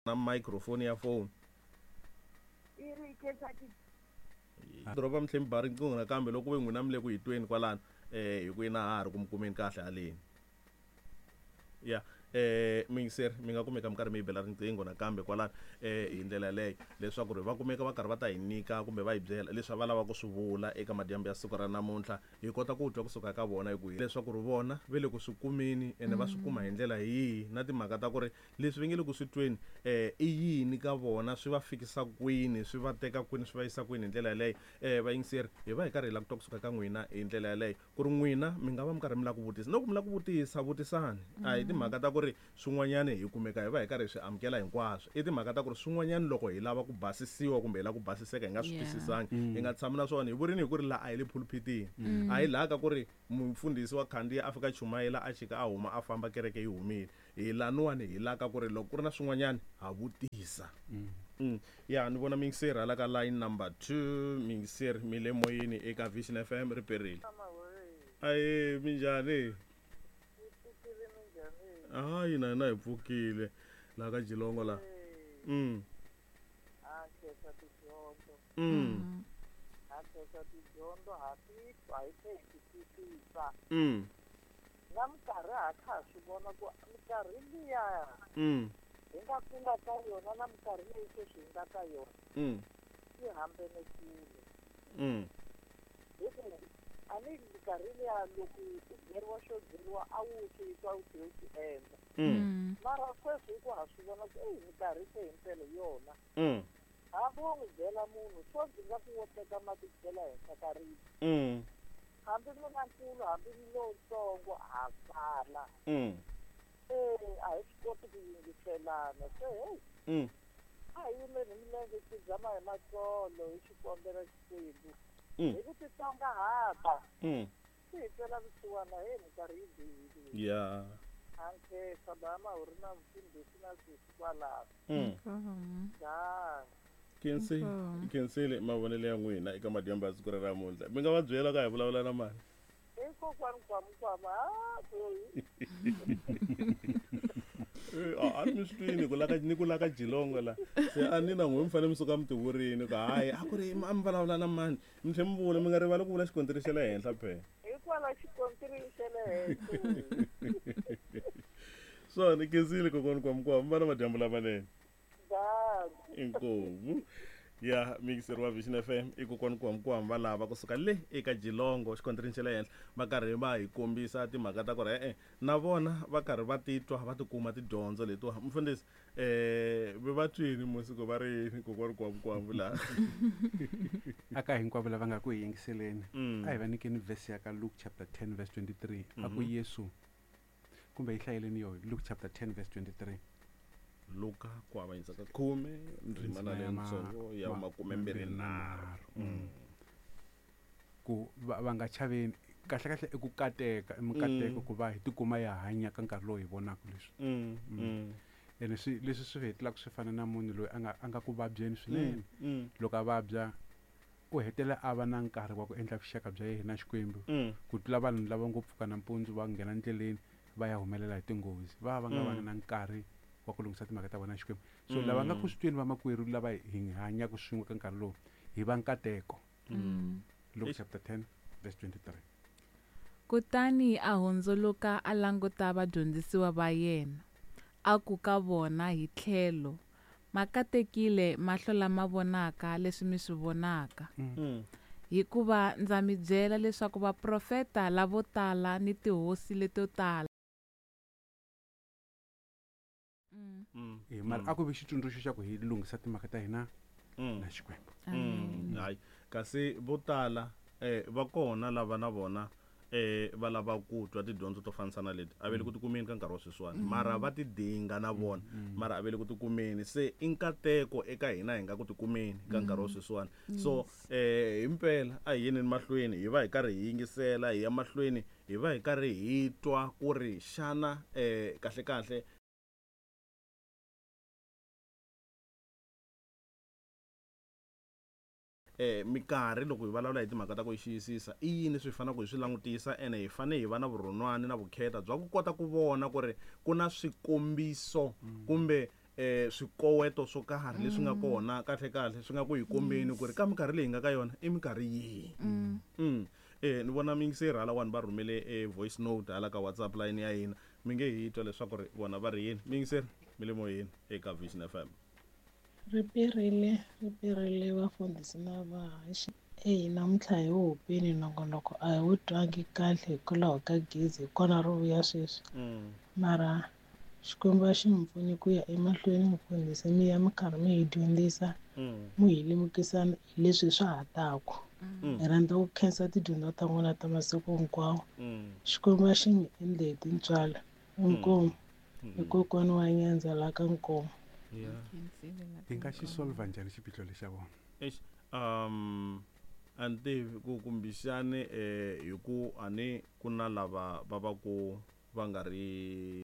Na microphone ya phone. I ri khensa ti. Doroba mi tlhe mi ba riqingho nakambe loko ve n'wina mi le ku hi tweni kwalano hi ku ina ha ha ri ku mi kumeni kahle haleni. Ya muyingiseri mi nga kumeka mi karhi mi yi bela riqingho nakambe kwalano hi ndlela yaleyo leswaku ri va kumeka va karhi va ta hi nyika kumbe va hi byela leswi va lavaka ku swi vula eka madyambu ya siku ra namuntlha hi kota ku twa kusuka ka vona hi ku leswaku ri vona ve le ku swi kumeni ene va swi kuma hi ndlela yihi na timhaka ta ku ri leswi va nge le ku swi tweni i yini ka vona swi va fikisa kwini swi va teka kwini swi va yisa kwini hi ndlela yaleyo vayingiseri hi va hi karhi hi lava ku twa kusuka ka n'wina hi ndlela yaleyo ku ri n'wina mi nga va mi karhi mi lava ku vutisa loko mi lava ku vutisa vutisani a hi timhaka ta ku ri swin'wanyani hi kumeka hi va hi karhi hi swi amukela hinkwaswo i timhaka ta ku ri swin'wanyani loko hi lava ku basisiwa kumbe hi lava ku basiseka hi nga swi twisisangi hi nga tshami na swona hi vurini hi ku ri laha a hi le phuluphitini a hi laha ka ku ri mufundhisi wa khandziya a fika chumayela a chika a huma a famba kereke yi humile hi laniwani hi la ka ku ri loko ku ri na swin'wanyani ha vutisa. Ya ni vona muyingiseri hala ka line number 2 muyingiseri mi le moyeni eka Vision FM ri perile. Aye minjhani? Hayi na hina hi pfukile laha ka Jilongo la. Ha khensa tidyondzo. Ha khensa tidyondzo ha titwa hi tlhe hi ti twisisa. Na minkarhi ha kha ha swi vona ku minkarhi liya hi nga kula ka yona na minkarhi leyi sweswi hi nga ka yona yi hambene kule. Hi ku a ni minkarhi liya loko u byeriwa xo byeriwa a wu swi twa u tlhela u swi endla. Mara sweswi hi ku ha swi vona ku eyi minkarhi se himpela hi yona. Hambi wo n'wi byela munhu swo ndzi nga ku wo teka mati chela henhla ka ribye. Hambi mi na nkulu hambi mi lowutsongo ha fana. A hi swi koti ku yingiselana se hey. A hi yimeni hi milenge hi dzama hi matsolo hi xikombelo Xikwembu. Hi ku titsongahata. Swi hi twela vusiwana he minkarhi yi bihile. Ya. A nkhensa ba mahuri na mfundhisi na sesi kwalaho. Khensile mavonelo ya n'wina eka madyambu ya siku ra namuntlha. Mi nga va byela ka hi vulavula na mani? I kokwani Kwamkwama. A ni mi swi twini ku laka ni ku laka Jilongo la. Se a ni na n'we mi fanele mi suka mi tivurini ku hayi a ku ri a mi vulavula na mani. Mi tlhe mi vula mi nga rivali ku vula xikontiri xa le henhla phela. Hikwalaho xikontiri xa le henhla. Swona khensile kokwani Kwamkwama mi va na madyambu lamanene. Inkomu ya mixer wa Vision FM i kokwani Kwamkwama va lava kusuka le eka Jilongo xikontirini xa le henhla va karhi va hi kombisa timhaka ta ku ri e-e na vona va karhi va titwa va tikuma tidyondzo letiwa mfundhisi va twini musiku va ri yini kokwani Kwamkwama laha aka hinkwavo lava nga ku hi yingiseleni a hi va nyikeni verse ya ka Luke chapter 10 verse 23 a ku Yesu kumbe hi hlayeleni yo Luke chapter 10 verse 23 Luka ku avanyisa ka 10 ndzimana leyitsongo ya 23 ku va nga chaveni kahle kahle i ku kateka i mikateko ku va hi tikuma ya hanya ka nkarhi lowu hi vonaka leswi. Ene swi leswi swi hetelaka swi fana na munhu loyi a nga ku vabyeni swinene. Loko a vabya u hetelela a va na nkarhi wa ku endla vuxaka bya yena na Xikwembu ku tlula vanhu lava ngo pfuka nampundzu va nghena ndleleni va ya humelela hi tinghozi va va nga va na nkarhi wa ku lunghisa timhaka ta vona na Xikwembu. So lava nga ku swi tweni vamakwerhu lava hi hanyaka swin'we ka nkarhi lowu hi va nkateko. Luke chapter 10 verse 23. Kutani a hundzuluka a languta vadyondzisiwa va yena a ku ka vona hi tlhelo makatekile mahlo lama vonaka leswi mi swi vonaka. Hikuva ndza mi byela leswaku vaprofeta lavo tala ni tihosi leto tala. Mara a ku vi xitsundzuxo xa ku hi lunghisa timhaka ta hina na Xikwembu. Hayi kasi vo tala va kona lava na vona va lava ku twa tidyondzo to fanisana leti a ve le ku tikumeni ka nkarhi wa sweswiwani mara va ti dinga na vona mara a ve le ku tikumeni se i nkateko eka hina hi nga ku tikumeni ka nkarhi wa sweswiwani. So himpela a hi yeneni mahlweni hi va hi karhi hi yingisela hi ya mahlweni hi va hi karhi hi twa ku ri xana kahle kahle minkarhi loko hi vulavula hi timhaka ta ku yi xiyisisa i yini swi faneleke hi swi langutisa ene hi fanele hi va na vurhonwani na vukheta bya ku kota ku vona ku ri ku na swikombiso kumbe Swikoweto swo karhi leswi nga kona kahle kahle swi nga ku hi kombeni ku ri ka minkarhi leyi nga ka yona i minkarhi yihi. Ni vona miyingiseri halawani va rhumele e voice note hala ka WhatsApp line ya hina, mi nge hi twa leswaku ri vona va ri yini. Miyingiseri, mi le moyeni eka Vision FM. Ri perile, ri perile vafundhisi na vahaxi. Eyi, namuntlha hi wu hupini nongonoko, a hi wu twangi kahle hikwalaho ka gezi, hi kona ri vuya sweswi. Mara Xikwembu a xi mi pfuni ku ya emahlweni mufundhisi, mi ya mi karhi mi hi dyondzisa, mi hi lemukisa hi leswi swa ha taku. Hi rhandza ku khensa tidyondzo ta n'wina ta masiku hinkwawo. Xikwembu a xi mi endle hi tintswalo. Inkomu. Hi kokwana wa Nyandza la ka Nkomo. Hi nga xi solva njhani xiphiqo lexi xa vona? Eish, a ni tivi ku kumbexani hi ku a ni ku na lava va va ku va nga ri.